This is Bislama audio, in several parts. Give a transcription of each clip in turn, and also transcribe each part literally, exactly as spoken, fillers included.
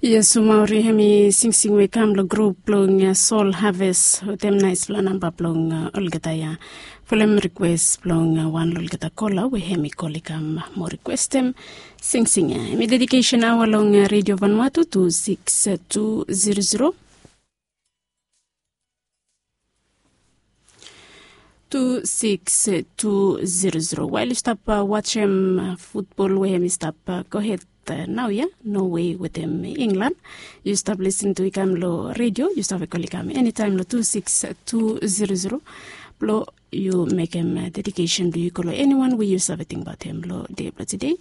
Yes, mauri hemi singsing we i kam long grup blong Sol Haves wetem naispela namba blong olgeta ya. Folem rikwes blong wan long olgeta kola we hemi kol i kam mo rikwestem singsing ya. Hemi dedikesen aoa long Redio Vanuatu tu sikis tu zero zero. Tu sikis tu zero zero. Wael yu stap wajem futbol we hemi stap gohed nau ya, Norway wetem England. Yu stap lisin tu i kam long redio, yu save kol i kam enitaem long tu sikis tu zero zero. Blong yu mekem dedikesen blong yu go long eniwan we yu save tingbaot hem long de blong tede,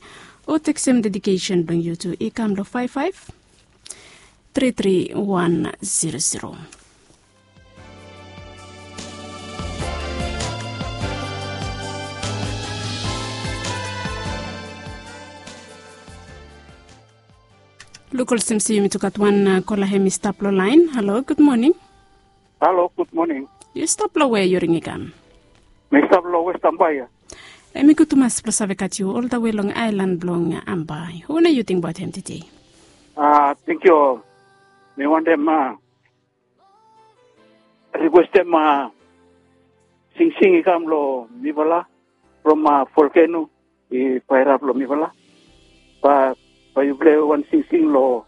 o teksem dedikesen blong yu tu i kam long faef faef tri tri wan zero zero. Luk olsem se yumi tu gat wan kola hem i stap long laen. Halo, gud moning. Halo, gud moning. Yu stap long we yu ring i kam? Mi stap long West Ambai ya. Hem i gud tumas blong save gat yu oldawe long aelan blong Ambai. Hu na yu tingbaot hem tede? A, tenkyu. Mi wantem rikwestem singsing i kam long mifala from volkeno i paerap long mifala. Bae yu pilei wan singsing long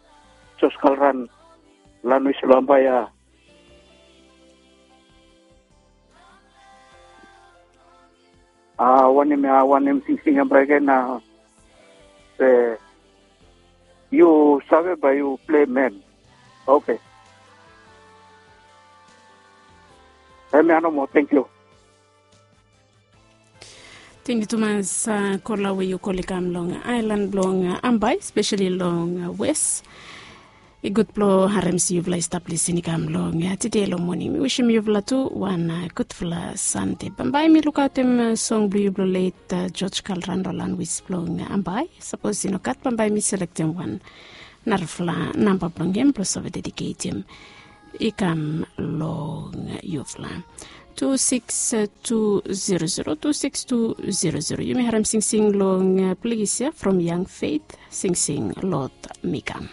Jos Kalran, Lanuis long Ambai ya. A wanem ya, a wanem singsing ya bae gen a, se yu save bae yu pilei hem. Oke. Hemia nomo, tenkyu. Tenkyu tumas kola we yu kol i kam long aelan blong Ambai, spesali long Wes. I gud blong harem se yufala i stap lisin i kam long tede long moning. Mi wisim yufala tu wan gudfala Sande. Bambae mi lukaotem song blong yu blong let Jos Kalran long Lanuis blong Ambai. Sapos i no gat, bambae mi selektem wan narafala namba blong hem blong save dediketem i kam long yufala. Tu sikis tu zero zero, tu sikis tu zero zero. Yumi harem singsing long ples ya from Young Faith, singsing Lord Mi Kam.